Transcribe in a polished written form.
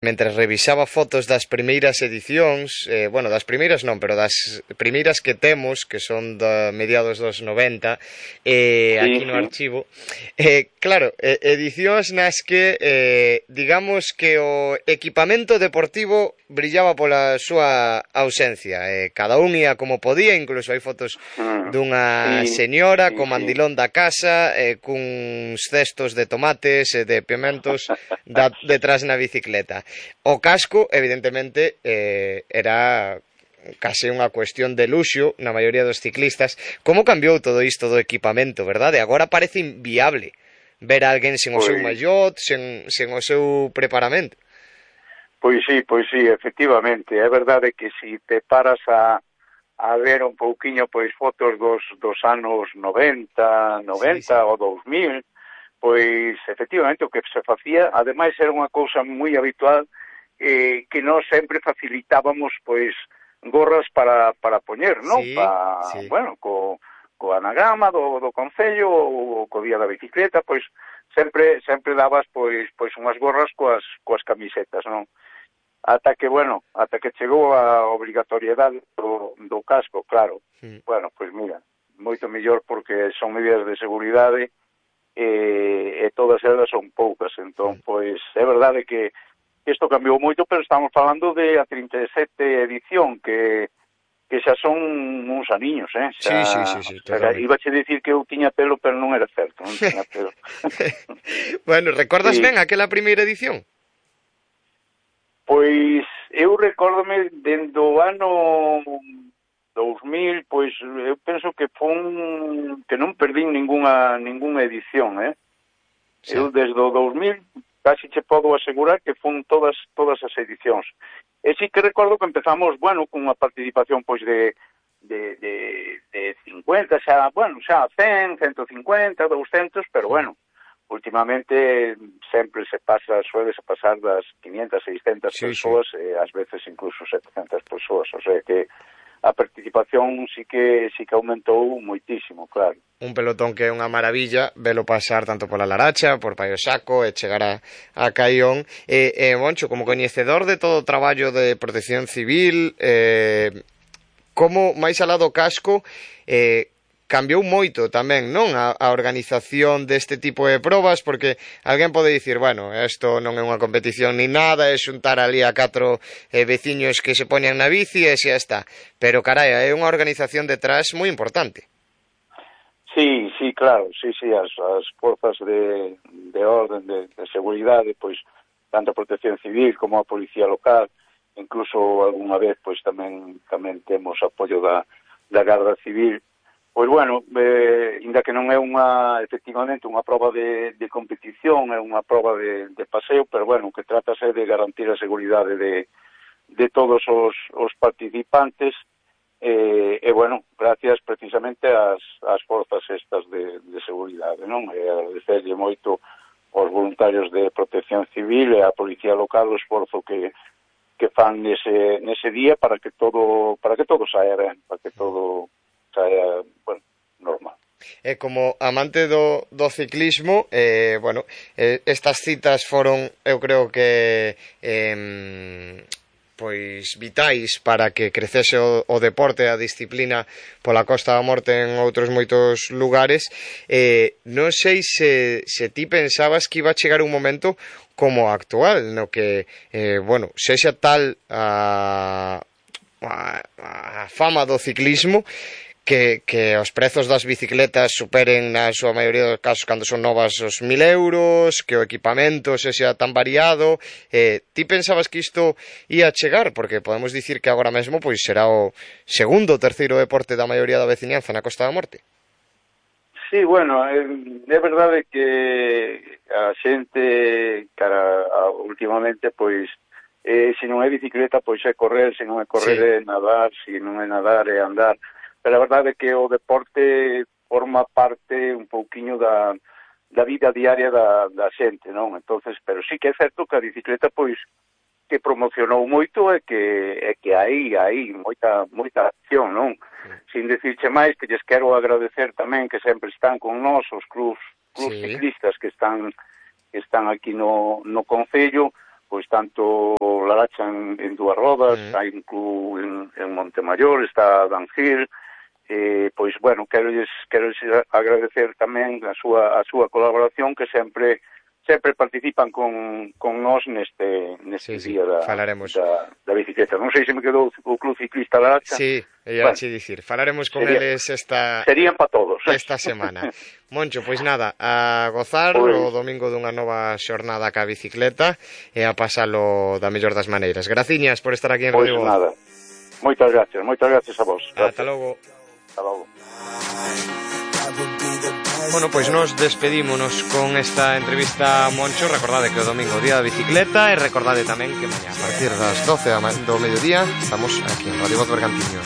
mentres revisaba fotos das primeiras edicións, bueno, das primeiras non, pero das primeiras que temos, que son de mediados dos 90, aquí no archivo, claro, edicións nas que, digamos que o equipamento deportivo brillaba pola súa ausencia, cada un ia como podía, incluso hai fotos dunha señora co mandilón da casa, cuns cestos de tomates e de pimentos detrás na bicicleta. O casco, evidentemente, era case unha cuestión de luxo na maioría dos ciclistas. Como cambiou todo isto do equipamento, verdade? Agora parece inviable ver a alguén sen o seu maillot, sen o seu preparamento. Pois sí, efectivamente. É verdade que se te paras a ver un pouquiño pois fotos dos anos 90 sí. Ou 2000, pois efectivamente o que se facía, ademais era unha cousa moi habitual, que nós sempre facilitábamos pois gorras para poñer, non? Sí. Bueno, co anagrama do concello ou co día da bicicleta, pois sempre dabas pois unhas gorras coas camisetas, non? Ata que chegou a obrigatoriedade do casco, claro. Bueno, pois mira, moito mellor porque son medidas de seguridade e todas elas son poucas, entón, pois, é verdade que isto cambiou moito, pero estamos falando de a 37 edición, que xa son uns aniños, Sí, iba a dicir que eu tiña pelo, pero non era certo, non tiña pelo. Bueno, recordas ben aquela primeira edición? Pois, eu recórdome dende o ano 2000, pois eu penso que que non perdín ningunha edición, Sí. Eu desde o 2000 casi che podo asegurar que fun todas as edicións. E sí que recordo que empezamos, bueno, con unha participación pois de 50, xa 100, 150, 200, pero bueno, últimamente sempre suele pasar das 500, 600 persoas e ás veces incluso 700 persoas, o sea que a participación sí que aumentou moitísimo, claro. Un pelotón que é unha maravilla velo pasar tanto pola Laracha, por Paio Saco e chegar a Caión. Moncho, como coñecedor de todo o traballo de protección civil, como máis alá do casco, cambiou moito tamén, non? A organización deste tipo de probas, porque alguén pode dicir, bueno, isto non é unha competición ni nada, é xuntar ali a 4 veciños que se poñan na bici e xa está. Pero, carai, é unha organización detrás moi importante. Sí, claro, as forzas de orden, de seguridade, pois, tanto a protección civil como a policía local, incluso algunha vez, pois, tamén temos apoio da Garda Civil. Pois bueno, ainda que non é efectivamente unha prova de competición, é unha prova de paseo, pero bueno, o que trátase de garantir a seguridade de todos os participantes e bueno, gracias precisamente ás forzas estas de seguridade, non? E agradecerlle moito aos voluntarios de protección civil e á policía local o esforzo que fan nese día para que todo saia ben, para que todo saia, bueno, normal. E como amante do ciclismo, bueno, estas citas foron, eu creo que pois vitais para que crecese o deporte, a disciplina pola Costa da Morte en outros moitos lugares. Non sei se ti pensabas que iba a chegar un momento como actual, no que, bueno, sexa tal a fama do ciclismo que os prezos das bicicletas superen na súa maioría dos casos cando son novas os 1.000 euros, que o equipamento sexa tan variado. Ti pensabas que isto ia chegar? Porque podemos dicir que agora mesmo pois será o segundo ou terceiro deporte da maioría da veciñanza na Costa da Morte. Sí, bueno, é verdade que a xente, últimamente, pois, se non é bicicleta, pois é correr, se non é correr é nadar, se non é nadar é andar. Pero a verdade é que o deporte forma parte un pouquiño da vida diaria da xente, non? Entonces, pero sí que é certo que a bicicleta, pois, que promocionou moito e que hai moita acción, non? Sin dicirche máis, que lles quero agradecer tamén que sempre están con nós, os clubs ciclistas que están aquí no Concello, pois tanto Laracha en dúas rodas, hai un club en Montemayor, está Danjil, pois, bueno, quero agradecer tamén a súa colaboración, que sempre participan con nós neste día da bicicleta. Non sei se me quedou o Club Ciclista Laracha. Sí, ia che dicir, falaremos con eles serían para todos esta semana. Moncho, pois nada, a gozar o domingo dunha nova xornada ca bicicleta e a pasalo da mellor das maneiras. Graciñas por estar aquí en Radio Voz. Pois nada, moitas gracias a vos. Ata logo. Bueno, pois nos despedímonos con esta entrevista a Moncho. Recordade que o domingo día da bicicleta, e recordade tamén que mañá a partir das 12 do mediodía estamos aquí en Radio Voz Bergantiños.